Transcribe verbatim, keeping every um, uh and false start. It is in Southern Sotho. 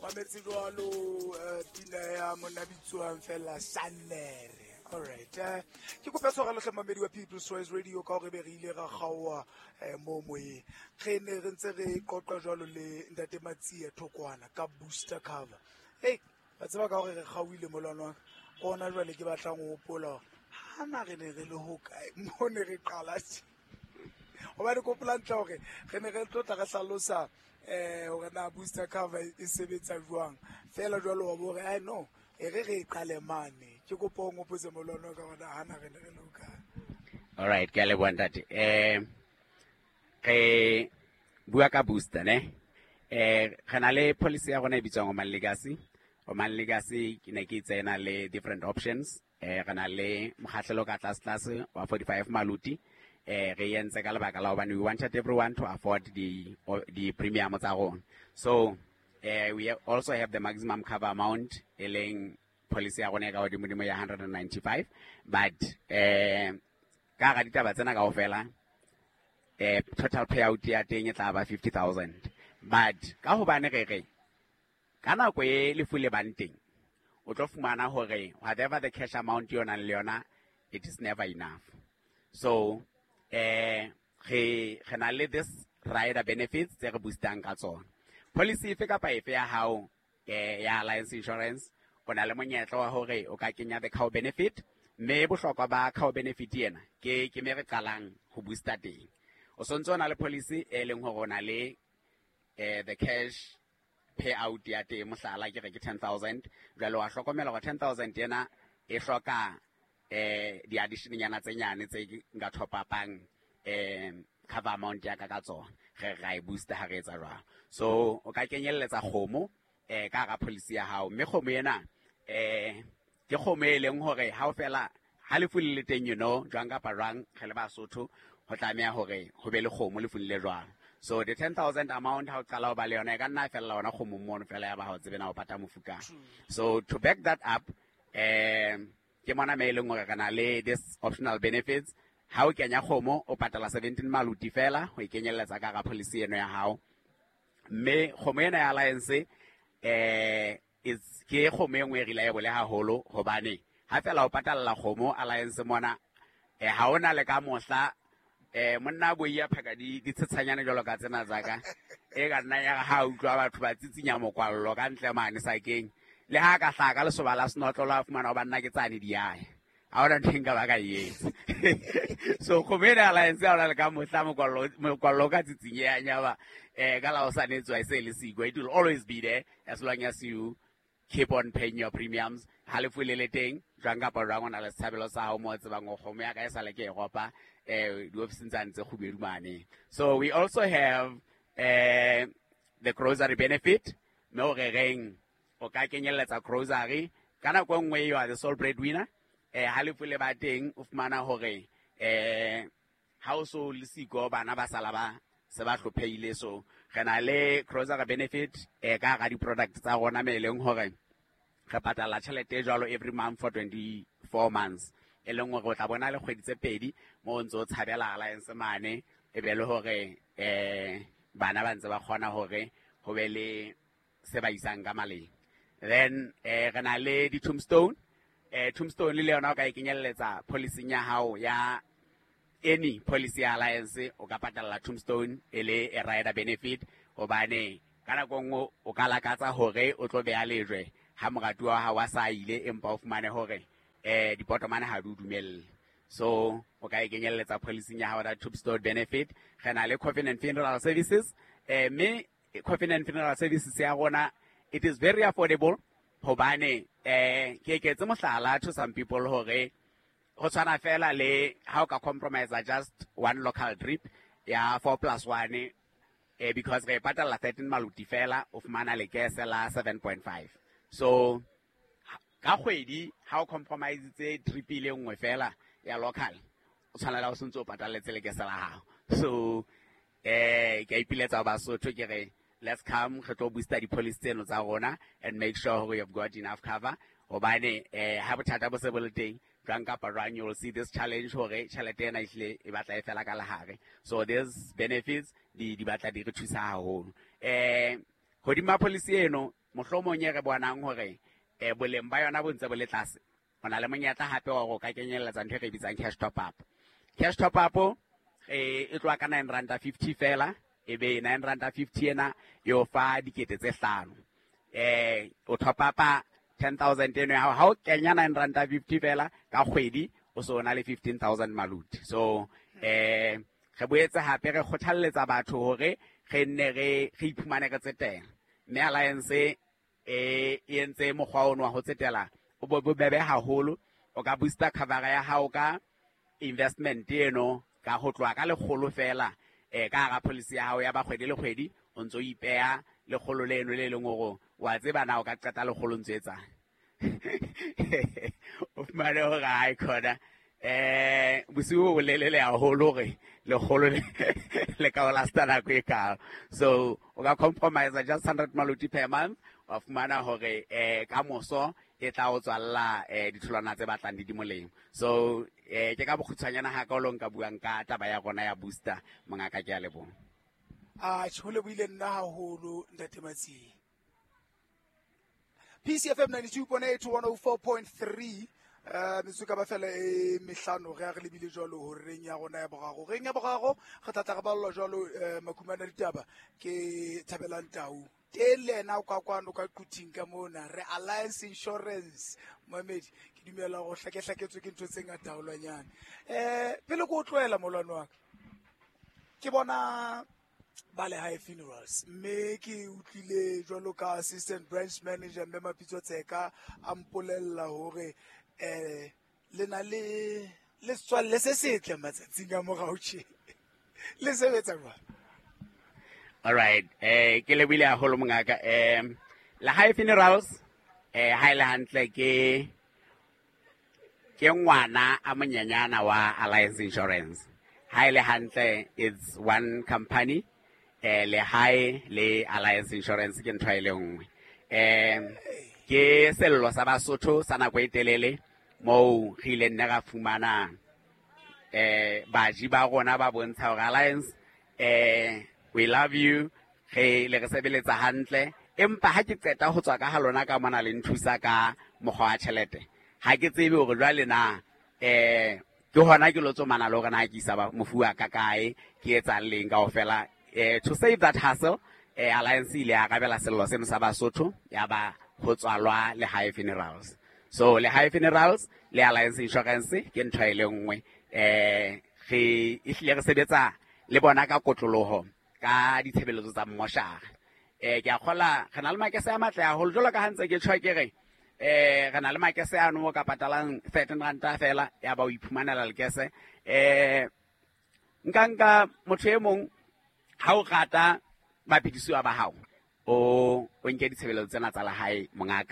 Mametse jwalo eh, pina ya monna bitswang fela Sannere. Alright, eh, ke kopa tshwarelo hle mamedi wa People's Choice Radio ka hore be re ile ra kgaoha eh, mo moyeng. Re ne re ntse re qoqa jwalo le ntate Matsie Thokwana ka booster cover. Hey, wa tseba ka hore re kgaohile molwana wa ka. Hona jwale ke batlang ho hopola hore hana re ne re le hokae mo ne re qala tje. Hobane ke hopola hantle hore re ne re tlo tla re hlalosa eh hore na booster cover e sebetsa jwang. Feela jwalo wa bo re ai no, e re re e qale mane. Ke kopa o nghopotse molwana wa ka hore na hana re ne re le hokae. All right, ke a leboha ntate. Eh re bua ka booster ne. Eh re na le policy ya rona e bitswang Oman Legacy. Oman Legacy ke ne ke itse e na le different options. Eh re na le mokgahlelo ka tlase tlase wa forty-five maluti. Eh re entse ka lebaka la hobane we wanted everyone to afford the the premium tsa rona. So eh we also have the maximum cover amount e leng policy ya rona e ka hodimo ya hundred and ninety-five, but eh ka hara ditaba tsena kaofela eh total payout ya teng e tla ba fifty thousand. But ka hobane re re ka nako e lefu le bang teng o tlo fumana hore whatever the cash amount yo nang le yona, it is never enough. So eh re re na le this rider benefits tse re boostang ka tsona. Policy efe kapa efe ya hao eh ya Alliance Insurance, o na le monyetla wa hore o ka kenya the cow benefit, mme bohlokwa ba cow benefit ena ke ke me re qalang ho booster teng. O sontso o na le policy e leng hore o na le eh the cash payout ya teng, mohlala ke re ke ten thousand. Jwale wa hlokomela hore ten thousand ena e hloka eh di addition nyana tse nyane tse nka top upang eh cover amount ya ka ka tsona. Re ra e booster ha re etsa jwalo. So o ka kenyelletsa kgomo eh ka hara policy ya hao, mme kgomo ena eh ke kgomo e leng hore ha o fela ha lefu le le teng, you know jwang kapa jwang re le Basotho ho tlameha hore ho be le kgomo lefung le jwalo. So the ten thousand amount ha o qala ho ba le yona e ka nna fella hona kgomong mono fela ya ba ha o tsebe na o pata mofu kae. So to back that up, eh ke mona me e leng hore re na le this optional benefits. Ha o kenya kgomo o patala seventeen maluti fela ho e kenyelletsa ka hara policy eno ya hao. Mme kgomo ena ya Alliance eh is ke kgomo e nngwe e reliable haholo, hobane ha fela o patalla kgomo Alliance mona eh ha ona le ka mohla eh monna bo ya phaka di di tshetshanyane jwalo ka tsena tsa ka e ka nna ya ha utlwa batho ba tsitsinya mokwallo ka ntle mane sakeng, le ha ka hlaka lesoba la senotlolo a fumana ho banna ke tsane di yaya. Ha hona ntho e nka ba ka e etsa. So kgomo ena ya Alliance ha ona le ka mohla mokwallo mokwallo ka tsitsinyeha ya ba eh ka la o sa netswa e se le siko. It will always be there as long as you keep on paying your premiums. Ha lefu le le teng jwang kapa jwang o na le setshabelo sa hao mo o tsebang hore kgomo ya ka e sale ke e ropa eh diofising tsane tse kgubedu mane. So we also have eh the grocery benefit, mme o re reng o ka kenyelletsa grocery ka nako e nngwe you are the sole breadwinner. Eh ha lefu le ba teng o fumana hore eh ha o so le siko bana ba sala ba se ba hlophehile. So re na le grocery benefit eh ka hara di-product tsa rona me e leng hore re patala tjhelete e jwalo every month for twenty-four months, e leng hore o tla bona le kgwedi tse pedi mo o ntso o tshabela Alliance mane, e be le hore eh bana ba ntse ba kgona hore ho be le se ba isang ka maleng. Then eh re na le di-tombstone. Eh tombstone le yona o ka e kenyelletsa policy ya hao ya any policy ya Alliance, o ka patalla tombstone e le a rider benefit, hobane ka nako e nngwe o ka lakatsa hore o tlo beha lejwe ha moratuwa wa hao a sa ile, empa o fumane hore eh dipotomane ha di o dumelle. So o ka e kenyelletsa policy ya hao ya tombstone benefit. Re na le coffin and funeral services, eh mme coffin and funeral services ya rona it is very affordable, hobane eh ke eketse mohlala to some people hore ho tshwana fela le ha o ka compromise just one local trip ya four plus one, eh because re patalla thirteen maluti fela o fumana lekese la seven point five. So ka kgwedi ha o compromise tse trip ile nngwe fela ya local, o tshwanela o sentse o patalletse lekese la hao. So eh ke a ipiletsa Basotho ke re let's come re tlo booster di-policy tseno tsa rona and make sure hore you've got enough cover, hobane eh ha bothata bo se bo le teng jwang kapa jwang, you will see this challenge hore tjhelete ena ehlile e batla e fela ka lehare. So these benefits di di batla di re thusa haholo. Eh hodima policy eno Mohlomong e re bonang hore eh boleng ba yona bo ntse bo le tlase. O na le monyetla hape wa hore o ka kenyelletsa ntho e re bitsang cash top up. Cash top up eh e tloha ka nine rand fifty fela, e be nine rand fifty ena e o fa dikete tse hlano. Eh o top up-a ten thousand eno ya hao, ha o kenya nine rand fifty fela ka kgwedi o so na le fifteen thousand maluti. So eh re boetse hape re kgothalletsa batho hore re nne re re iphumane re tsetela. Mme Alliance e e entse mokgwa ono wa ho tsetela o bo bobebe haholo. O ka booster cover ya hao ka investment eno ka ho tloha ka lekgolo fela eh ka hara policy ya hao ya ba kgwedi le kgwedi o ntso ipeha lekgolo leno le leng hore wa tseba na o ka qeta lekgolo ntso etsang. O fumane hore ha e khona eh bosiu bo lelele haholo hore lekgolo le le ka o lasta nako e kaalo. So o ka compromise just hundred maluti per month, wa fumana hore eh ka moso e tla o tswalla eh ditholwana tse batlang di di molemo. So eh ke ka bokgutshwanyana ha ka o lo nka buang ka taba ya rona ya booster mongaka, ke a leboha. A tjhe, ho lebohile nna haholo ntate Matsie. P C F M ninety-two point eight to one oh four point three. Eh metsotso ka ba fela e mehlano re a re lebile jwalo horeng ya rona ya boraro. Horeng ya boraro re tla tla re ballwa jwalo eh makumana ditaba ke Thabelang Tau. Teng le yena o ka kwano ka Quthing ka mona re Alliance Insurance. Moemedi ke dumela hore o hlakehlaketswe ke ntho tse ngata haholwanyane. Eh pele ke o tlohela molwane wa ka, ke bona ba Lehae Funerals mme ke utlwile jwalo ka assistant branch manager mme Mapitso Tseka a mpolella hore eh le na le le setswalle se setle matsatsing a morao tje. Le sebetsa jwang? All right, eh ke lebohile haholo mongaka. Eh Lehae Funerals eh ha ile hantle ke ke ngwana a monyenyana wa Alliance Insurance. Ha ile hantle it's one company. Eh Lehae le Alliance Insurance ke ntho e le nngwe. Eh ke sello sa Basotho sa nako e telele moo re ileng ne ra fumana eh baji ba rona ba bontsha hore Alliance eh we love you, re le re sebeletsa hantle, empa ha ke qeta ho tswa ka ha lona ka mona le nthusa ka mokgwa wa tjhelete ha ke tsebe hore jwale na eh ke hona ke lo tsomana le hore na ke isa mofu wa ka kae, ke etsang leng kaofela. Eh to save that hassle eh Alliance ile ya arabela sello seno sa Basotho ya ba ho tswalwa Lehae Funerals. So Lehae Funerals le Alliance Insurance ke ntho e le nngwe. Eh re ehlile re sebetsa le bona ka kotloloho ka ditshebeletso tsa mmoshara. Eh ke a kgola re na le makese a matle haholo jwalo ka ha ntse ke tjho ke re eh re na le makese ano o ka patalang thirteen ranta fela ya ba o iphumanela lekese. Eh nka nka motho e mong ha o rata baphedisuwa ba hao o o nke ditshebeletso tsena tsa lehae mongaka.